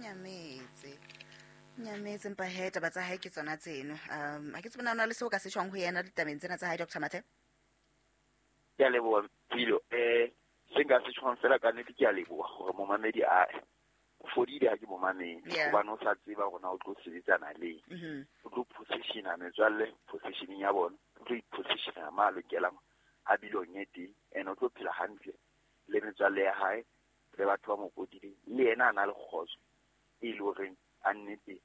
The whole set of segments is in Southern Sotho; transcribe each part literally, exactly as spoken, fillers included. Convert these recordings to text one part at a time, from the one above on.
Nyametse. Nyametse empa he taba tsa hae ke tsona tseno. Um ha ke tsebe na o na le seo ka se tjhong ho yena ditabeng tsena tsa hae, Doctor Mathe. Ke a leboha Pilo. Eh se nka se tjhong fela ka nnete ke a leboha hore momamedi a o fodile ha ke momamedi. Yeah. Hobane o sa tseba hore na o tlo sebetsana le eng. Mhm. O tlo positiona metswalle positioning ya bona. O tlo ipositiona ma lokelang a bilong e teng, and o tlo phela hantle le metswalle ya hae le batho ba mo potileng. Le yena a na le kgotso e le horeng a nnete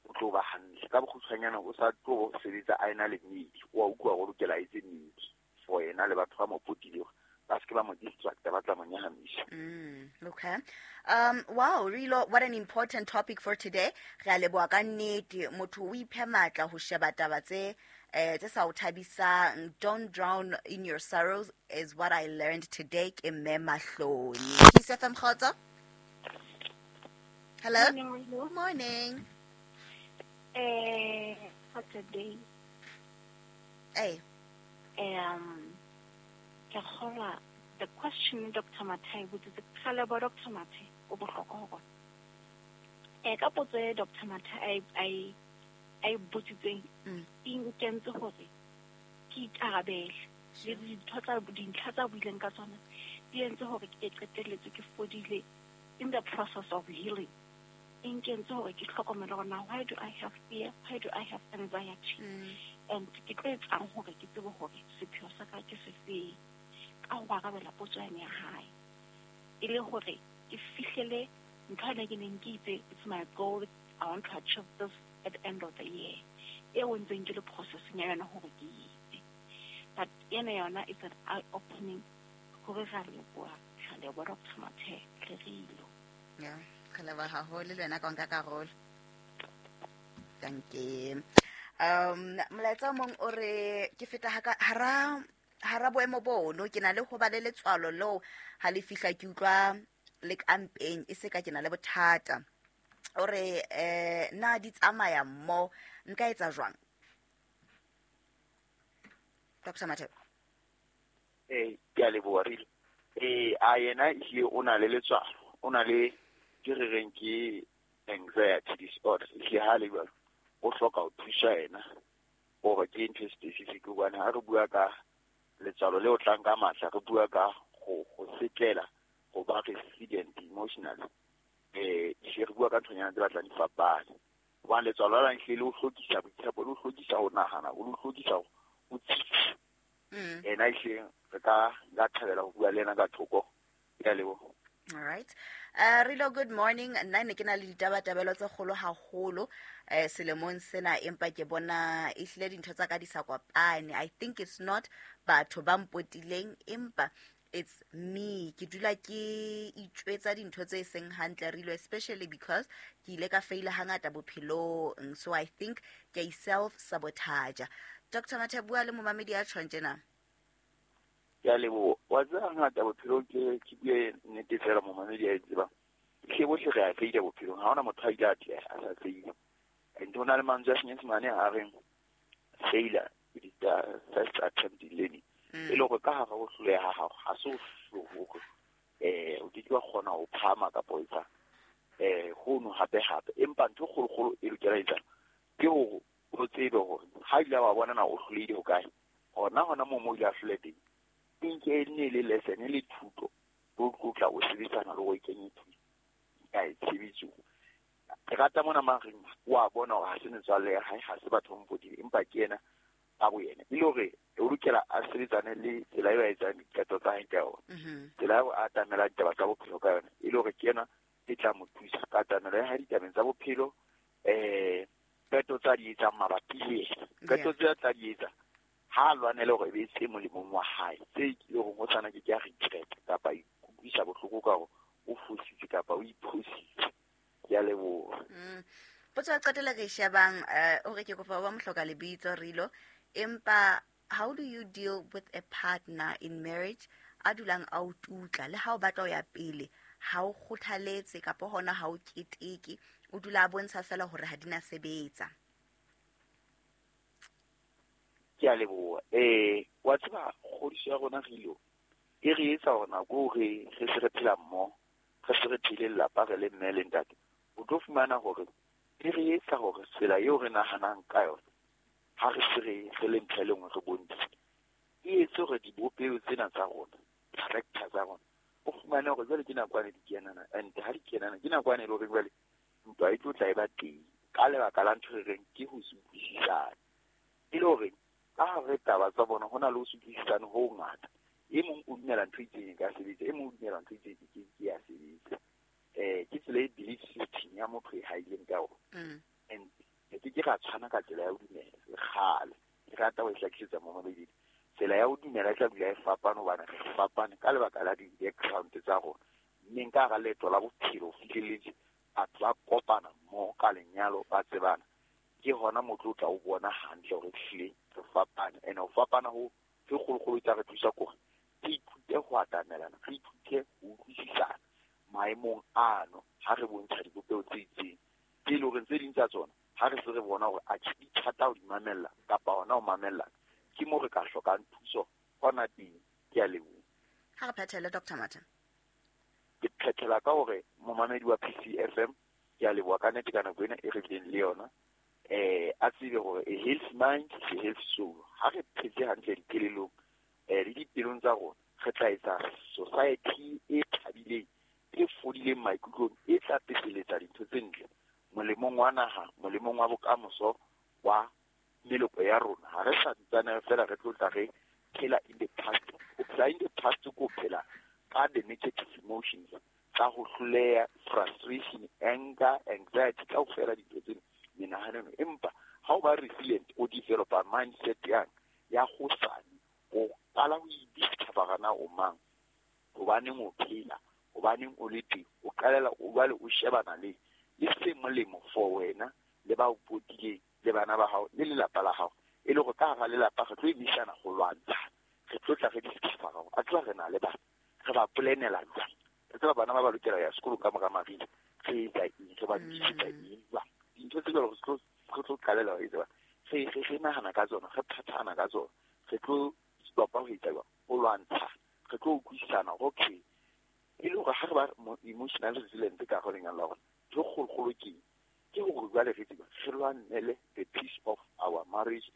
o tlo ba hantle. Ka bokgutshwanyane o sa tlo sebetsa a ena le mmidi. O a utlwa hore o lokela a etse mmidi for yena le batho ba mo potileng, ba se ke ba mo distracta, ba tla mo nyahamisa. Mm, okay. Um, wow, Rilo, what an important topic for today. Re a leboha ka nnete. Motho o iphe matla ho sheba taba tse, eh, tse sa o thabisang. Don't drown in your sorrows is what I learned today. Ke Mme Mahloni. Kiss F M Kgotso? Hello? Morning, Rilo. Morning. Eh, for today. Hey. Um, ke kgolwa the question Doctor Mathe botsitse, ke leboha Doctor Mathe, o bohlokwa ho rona. Eh, ka potso e Doctor Mathe a e, a e, a e botsitseng, Mm. e nkentse hore ke ikarabele. Le dintho tsa, dintlha tsa buileng ka tsona di entse hore ke qetelletse ke fodile in the process of healing. E nkentse hore ke hlokomele hore na why do I have fear, why do I have anxiety? Mm. And ke tlo etsang hore ke tsebe hore sepheo sa ka ke sefeng ka ho arabela potso yane ya hae. E le hore ke fihlele ntho ena ke neng ke itse, it's my goal, I want to achieve this at the end of the year. Eo ntseng ke le processing ya yona hore ke itse. But ena yona is an eye-opening hore ra leboha, ra leboha Doctor Mathe, le Rilo. Yeah, re leboha haholo le wena ka ho nka karolo. Thank you. Um, molaetsa o mong o re ke feta haka, hara, hara boemo bono, ke na le ho ba le letswalo leo ha le fihla ke utlwa le ka mpeng, e se ka ke na le bothata. O re, eh, na di tsamaya mmo, nka etsa jwang? Doctor Mathe. Eh, ke a leboha, Rilo. Eh, a yena ehlile o na le letswalo, o na le ke re reng ke anxiety disorder. Ehlile ha le jwalo, o hloka ho thusa yena hore ke ntho e specific, hobane ha re bua ka letswalo le o tlang ka matla, re bua ka ho, ho setlela, ho ba resilient emotionally. Eh, ehlile re bua ka nthonyana tse batlang di fapane. Hobane letswalo la ehlile le o hlokisa boitshepo, le o hlokisa ho nahana, o le o hlokisa ho tsitsa. Mm. Ena ehlile re ka, nka thabela ho bua le yena ka thoko. Ke a leboha. All right. Uh, Rilo, good morning. Nna ne ke na le ditabatabelo tse kgolo haholo, eh, selemong sena, empa ke bona ehlile dintho tsa ka di sa kopane. I think it's not batho ba mpotileng, empa it's me. Ke dula ke itjwetsa dintho tse seng hantle, Rilo, especially because ke ile ka faila hangata bophelong. So I think ke a self-sabotage. Doctor Mathe, bua le momamedi ya tjhong tjena. Ke a leboha. Wa tseba hangata bophelong ke, ke bue nnete fela momamedi a e tsebang. Ehlile bohle re a faila bophelong. Ha hona motho a ile a atleha, a sa faile. And ho na le mantswe a Senyesemane a reng failure is the first attempt in learning. Mm. E le hore ka hara ho hloleha ha hao, ha se ho hore, eh, o ke ke wa kgona ho phahama kapa ho etsa, eh, hono hape hape. Empa ntho e kgolokgolo e lokela ho etsa ke hore o tsebe hore ha ile wa bona na o hlolehile hokae, hona hona moo mo ile a hloleha teng, e nke e nne le lesson, e le thuto, o tlotla o sebetsana le hore o kenye thuto ka e tshebetsong. Ke rata mona mareng, wa bona hore ha se metswalle ya hae, ha se batho ba mo potileng, empa ke yena ka bo yena. E le hore o lokela a sebetsane le tsela eo a etsang diqeto tsa hae ka yona. Mm-hmm. Tsela eo a atamelang ditaba tsa bophelo ka yona, e le hore ke yena e tla mo thusa ka atamelo ya hae ditabeng tsa bophelo, eh, qeto tsa di etsang mabapi le yena. Qeto Yeah. tse a tla di etsa, ha a lwanele hore e be tse molemong wa hae, tse e leng hore o tshwana ke ke a regret kapa a ikutlwisa bohloko ka hore o fositse kapa o iphositse. Ke a leboha. Mm. Potso ya qetela re e shebang, eh, o re ke kopa ba mohloka lebitso, Rilo, empa how do you deal with a partner in marriage a dulang a o tutla le ha o batla ho ya pele, ha o kgothaletse kapa hona ha o keteke, o dula a bontsha fela hore ha di na sebetsa? Ke a leboha. Eh, wa tseba kgodiso ya rona Rilo e re etsa hore nako eo re, re se re phela mmoho, re se re phele lelapa re le mme le ntate, o tlo fumana hore e re etsa hore tsela eo re nahanang ka yona ha re se re re le ntho e le nngwe re bontshe e etse hore dibopeho tsena tsa rona character tsa rona o fumane hore jwale ke nakwane di kenana and ha di kenana ke nakwane e le hore jwale ntwa e tlo tla e ba teng ka lebaka la ntho e reng ke ho se utlwisisane. E le hore ka hare taba tsa bona ho na le ho se utlwisisane ho ngata. E mong o dumela ntho e itseng e ka sebetsa, e mong o dumela ntho e itseng e ke ke ya sebetsa. Eh ke tsela e belief system ya motho e haileng ka ona. And ke ke ra tshwana ka tsela ya ho dumela le kgale. Ke rata ho e hlakisetsa mo mabedi. Tsela ya ho dumela e tla dula e fapane hobane re fapane ka lebaka la di-background tsa rona. Mme nka hara leeto la bophelo ho fihlelletse batho ba kopana mmoho ka lenyalo ba tsebana. Ke hona motho o tla o bona hantle hore ehlile re fapane. And ho fapana ho ke kgolokgolo e tla re thusa kore re ithute ho atamelana, re ithute ho utlwisisana maemong ano ha re bontsha dibopeho tse itseng. Tse leng hore tse ding tsa tsona ha re se re bona hore atjhe di thata ho di mamella kapa hona ho mamellana, ke moo re ka hlokang thuso hona teng. Ke a leboha. Ha re phethele Doctor Mathe. Ke phethela ka hore momamedi wa P C F M ke a leboha ka nnete ka nako ena e re bileng le yona. Eh a tsebe hore a health mind is a health soul. Ha re phetse hantle dikelellong eh le dipelong tsa rona, re tla etsa society e thabileng, e fodileng maikutlong, e tla peseletsa dintho tse ntle molemong wa naha, molemong wa bokamoso wa meloko ya rona. Ha re sa ntsane fela re tlo tla re phela in the past. Ho phela in the past ko phela ka the negative emotions tsa ho hloleha, frustration, anger, anxiety, kaofela dintho tsena menahanong. Empa ha o ba resilient, o developa mindset yang ya hosane, o qala ho idiscovera na o mang, hobaneng o phela, hobaneng o le teng, o qalela o jwale o shebana le le se molemo for wena le ba o potileng le bana ba hao le lelapa la hao. E le hore ka hara lelapa re tlo emisana ho lwantsha, re tlo tla re discovera hore a tseba re na le bana, re ba planela jwang, re tseba bana ba ba lokela ho ya sekolong ka mora mariha, re etsa eng, re ba lokisetsa eng jwang. Dintho tse jwalo re tlo re tlo qalela ho etsa, re re re nahana ka tsona, re phathana ka tsona, re tlo stopa ho etsa jwang, ho lwantsha, re tlo utlwisisana hore okay, e le hore ha re ba emotional resilient ka hare ho lenyalo la rona, ntho e kgolokgolo ke eng? Ke hore jwale re tseba re lwanele the peace of our marriage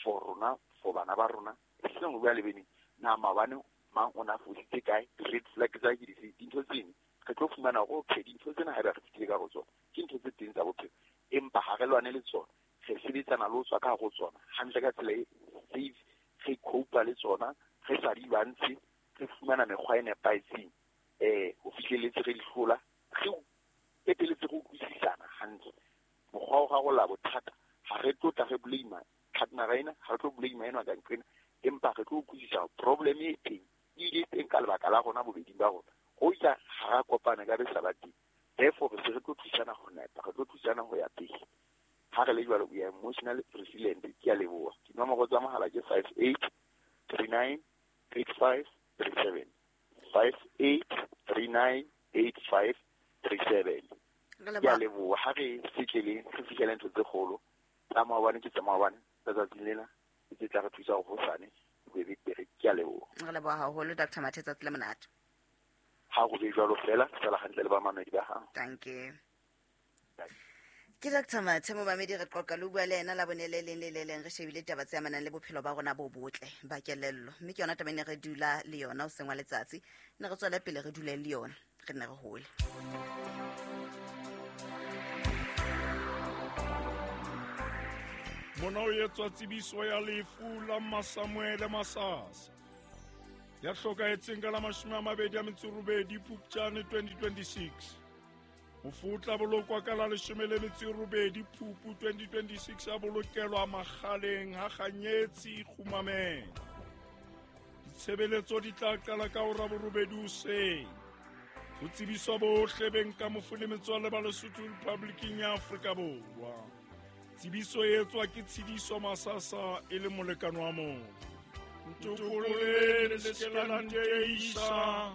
for rona, for bana ba rona. E seng jwale beneng na maobane mang o na fositse kae, red flag tsa ke dife, dintho tseno re tlo fumana hore okay, dintho tsena haeba re fetile ka ho tsona ke ntho tse teng tsa bophelo, empa ha re lwane le tsona, re sebetsana le ho tswa ka hare ho tsona hantle ka tsela e safe, re cope le tsona, re sa di lwantshe, re fumana mekgwa e nepahetseng eh ho fihlelletse re di hlola, re qetelletse re utlwisisana hantle. Mokgwa wa ho rarolla bothata ha re tlo tla re blame partner ena, ha re tlo blame ena ka nqena, empa re tlo utlwisisa problem e teng e ile teng ka lebaka la rona bobeding ba rona. Ho ja ha ra kopana ka re sa ba teng, therefore re se re tlo thusana ho nepa, re tlo thusana ho ya pele. Ha re le jwalo, we are emotionally resilient. Ke a leboha. Dinomoro tsa mohala ke five eight three nine eight five three seven, five eight three nine eight five three seven. Ke a leboha. Ha re fihleleng, re fihlele ntho tse kgolo tsa maobane ke tsa maobane, tsa tsatsing lena ke tse tla re thusa hore hosane ho be betere. Ke a leboha. Re leboha haholo Doctor Mathe, tsatsi le monate. Ha ho be jwalo fela, sala hantle le bamamedi ba hao. Thank you. Ke Doctor Mathe momamedi, re qoqa le bua le yena la bone le leng le le leng, re shebile taba tse amanang le bophelo ba rona bo botle ba kelello, mme ke yona taba e ne re dula le yona hoseng wa letsatsi, ne re tswele pele re dule le yona, re nne re hole. Mona o etswa tsebiso ya lefu la Masamuele Masasa ya hlokahetseng ka la mashome a mabedi a metso robedi Phupjane twenty twenty-six. Mofu o tla bolokwa ka la leshome le metso e robedi Phupu twenty twenty-six, a bolokelwa Makgaleng ha Kganyetsi Kgumameng. Ditshebeletso di tla qala ka hora borobedi hoseng. Ho tsebiswa bohle beng ka mofu le metswalle ba Lesotho Republiking ya Afrika Borwa. Tsebiso e etswa ke Tshidiso Masasa e le molekane wa mofu. Ntokolleng le se ke la nteisa,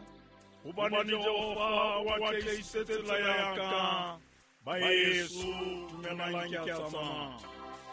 hobane Jehova o atlehisitse tsela ya ka. Baeso, dumelang ke a tsamaya.